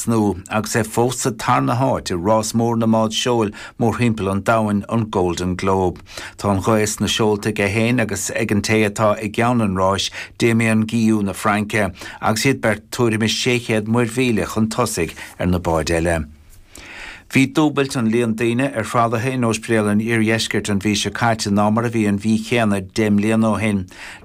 trasnú agus é fós sa tarna háit i rás mór na mbád seoil mórthimpeall an domhain, an Golden Globe. Tá an ghaoth sna seolta aige féin agus ag an té atá i gceann an ráis, Damien Guillou na Fraince, agus iad beirt tuairim is 600 muirmhíle chun tosaigh ar na báid eile. Bhí dúbailt an líon daoine ar thralaithe in Ospidéal an Iardheiscirt an mhí seo caite ná mar a bhí an mhí chéanna 10 mbliana ó shin.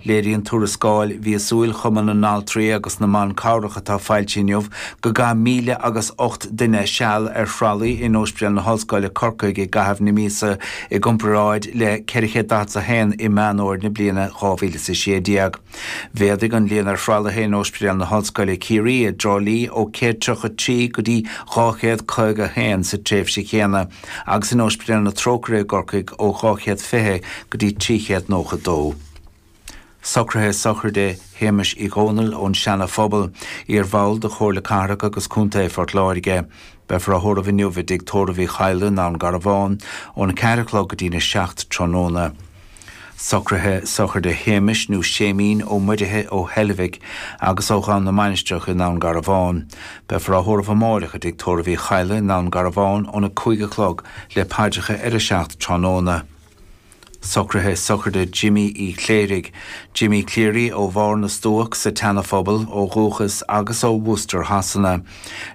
Léiríonn tuarascáil mhíosúil Chumann na nAltraí agus na mBan Cabhrach atá foilsithe inniu go gcaith míle agus 8 duine seal ar thralaí in Ospidéal na hOllscoile, Corcaigh i gcaitheamh na míosa i gcomparáid le 441 i Meán Fhómhair na bliana 2016. Mhéadaigh an líon ar thralaithe in Ospidéal na hOllscoile Ciarraí i dTrá Lí ó 133 go dtí 251 sa tréimhse chéanna agus in Ospidéal na Trócaire i gCorcaigh ó 220 go dtí 392. Socruithe sochraide Shéamais Uí Dhónaill ón Seana Phobal, iar-bhall de Chomhairle Cathrach agus Contae Phort Láirge. Beifear á thórramh inniu i dTigh Tórraimh Uí Chadhla i nDún Garbhán óna 4 a chlog go dtína 7 tráthnóna. Socruithe sochraide Shéamais nó Séimín Ó Muirithe ó Heilbhic agus ó Dhún na Mainistreach i nDún Garbhán. Beifear á thórramh amáireach i dTigh Tórraimh Uí Chadhla i nDún Garbhán óna 5 a chlog le paidreacha ar a 7 tráthnóna. Socruithe sochraide Jimí Uí Chléirigh, Jimmy Cleary ó Bharr na Stuac sa tSeana-Phobal ó dhúchas agus ó Worcester Shasana.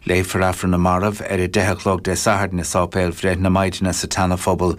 Léifear Aifreann na Marbh ar a 10 a chlog Dé Sathairn i Sáipéal Bhreith na Maighdine sa tSeana-Phobal.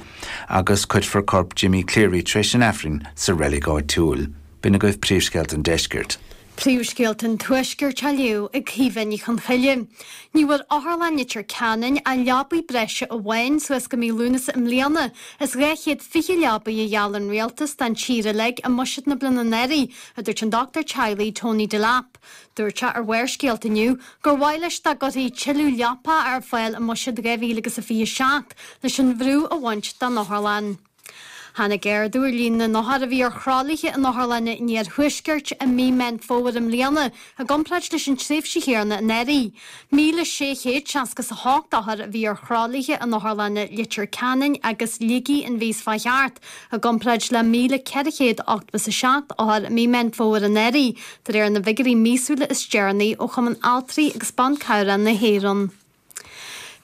agus cuirfear corp Jimmy Cleary tar éis an Aifrinn sa reilig áitiúil. B'in agaibh príomhscéalta an deiscirt. Príomhscéalta an Tuaiscirt á léamh ag Caoimhe Ní Chonchoille. Ní bhfuair Otharlann Leitir Ceanainn ach leabaidh breise amháin suas go mí Lúnasa i mbliana as 220 leabaidh a gheall an Rialtas don tír uilig i mbuiséad na bliana anuraidh, a dúirt an dochtúir teaghlaigh Tony Delap. Dúirt sé ar Bharrscéalta inniu gur mhaith leis dá gcuirfí tuilleadh leapa ar fáil i mbuiséad 2027 leis an bhrú a bhaint den otharlann. Tháinig ardú ar líon na n-othar a bhí ar thralaithe in otharlanna an iarthuaiscirt i mí Meán Fómhair i mbliana i gcomparáid leis an tréimhse chéanna anuraidh. 1,668 othar a bhí ar thralaithe in otharlanna Leitir Ceanainn agus Shligigh an mhí seo chuaigh thart, i gcomparáid le 1,487 othar i mí Meán Fómhair anuraidh, de réir na bhfigiúirí míosúla is deireanaí ó Chumann Altraí agus Ban Cabhrach na hÉireann.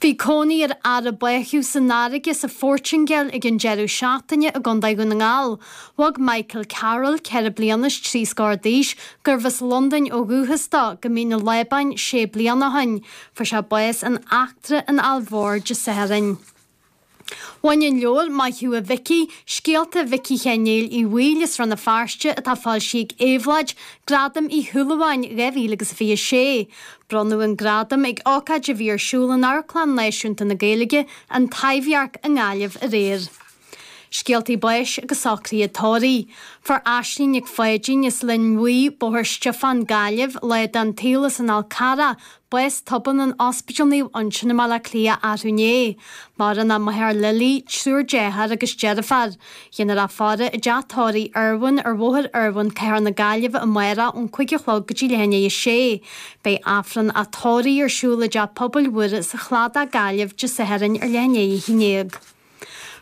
Bhí cónaí ar fhear a báthadh san fharraige sa Phortaingéil ag an deireadh seachtaine i gContae Dhún na nGall. Bhog Michael Carroll, 4 bliana is 3 scór d'aois, gurbh as Londain ó dhúchas dó, go Mín an Lábáin sé bliana ó shin. Fuair sé bás in Eachtra an Aill Mhóir Dé Sathairn. Bhain an leabhar Maith Thú a Mhicí, Scéalta Mhicí Sheáin Néill Uí Bhaoill as Rann na Feirste atá foilsithe ag Éabhlóid, Gradam Uí Shúilleabháin 2026. Bronnadh an gradam ag ócáid a bhí ar siúl in Amharclann Náisiúnta na Gaeilge, An Taibhdhearc i nGaillimh aréir. Scéaltaí báis agus socruithe tórraimh. Fuair Aisling Nic Pháidín as Linn Bhuí, Bóthar Stiofáin, Gaillimh, lá den tsaol as an Fhál Carrach, bás tobann in Ospidéal Naomh Uinseann i mBaile Átha Cliath arú inné. Maireann a máthair Lily, triúr dearthár agus deirfiúr. Déanfar í a fhaire i dteach tórraimh Irwin ar Bhóthar Irwin, Cathair na Gaillimhe amárach ón 5 a chlog go dtí leath i ndiaidh a sé. Beidh Aifreann a tórraimh ar siúl i dTeach Pobail Mhuire sa Chladach, Gaillimh, Dé Sathairn ar leath i ndiaidh a 11.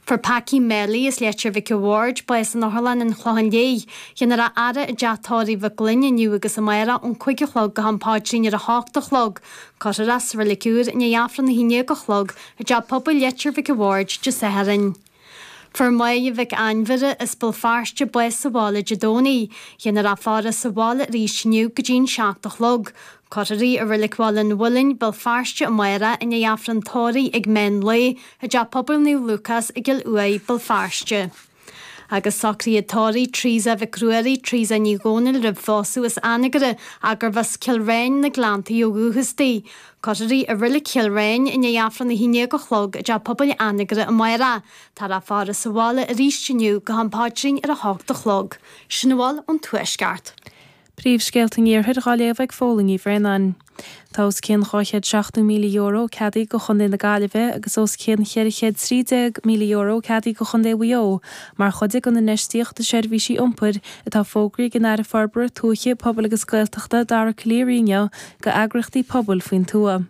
Fuair Packy Melly as Leitir Mhic a' Bhaird bás in Otharlann an Chlocháin Léith. Déanfar é a fhaire i dteach tórraimh Mhic Gloinn inniu agus amárach ón 5 a chlog go ham paidrín ar a hocht a chlog. Cuirfear é sa Reilig Úr i ndiaidh Aifreann a haon déag a chlog i dTeach Pobail Leitir Mhic a' Bhaird Dé Sathairn. Fuair Máire Mhic Ainmhire as Béal Feirste bás sa bhaile Dé Domhnaigh. Déanfar í a faire sa bhaile arís inniu go dtí'n 7 a chlog. Cuirfear í i Reilig Bhaile an Mhuilinn, Béal Feirste amárach i ndiaidh Aifreann tórraimh ag meán lae i dTeach Pobail Naomh Lúcás i gCill Uaighe, Béal Feirste. Agus socruithe tórraimh Teresa Mhic Ruairí, Teresa Ní Dhomhnaill roimh phósadh as Anagaire ach gurbh as Cill Ráin na Gleanntaí ó dhúchas di. Cuirfear í i Reilig Chill Ráin i ndiaidh Aifreann 11 a chlog i dTeach Pobail Anagaire amárach. Táthar á faire sa bhaile arís inniu go ham paidrín ar a hocht a chlog. Sin a bhfuil ón Tuaisceart. Príomhscéalta an Iarthair dhá léamh ag Fódhla Ní Bhraonáin. Tá os cionn €270,000 ceadaithe do Chontae na Gaillimhe agus os cionn €413,000 ceadaithe do Chontae Mhaigh Eo mar chuid den infheistíocht i seirbhísí iompair atá fógraithe ag an Aire Forbartha Tuaithe, Pobail agus Gaeltachta Dara Calleary inniu do eagraíochtaí pobail faoin tuath.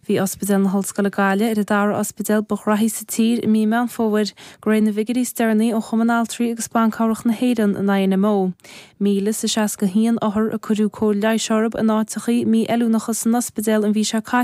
Bhí Ospidéal na hOllscoile Gaillimh ar an dara ospidéal ba ghraithí sa tír i mí Meán Fómhair, de réir na bhfigiúirí is deireanaí ó Chumann Altraí agus Ban Cabhrach na hÉireann, an INMO. 1,061 othar a cuireadh cóir leighis orthu in áiteachaí mí-fheiliúnacha san ospidéal an mhí seo caite.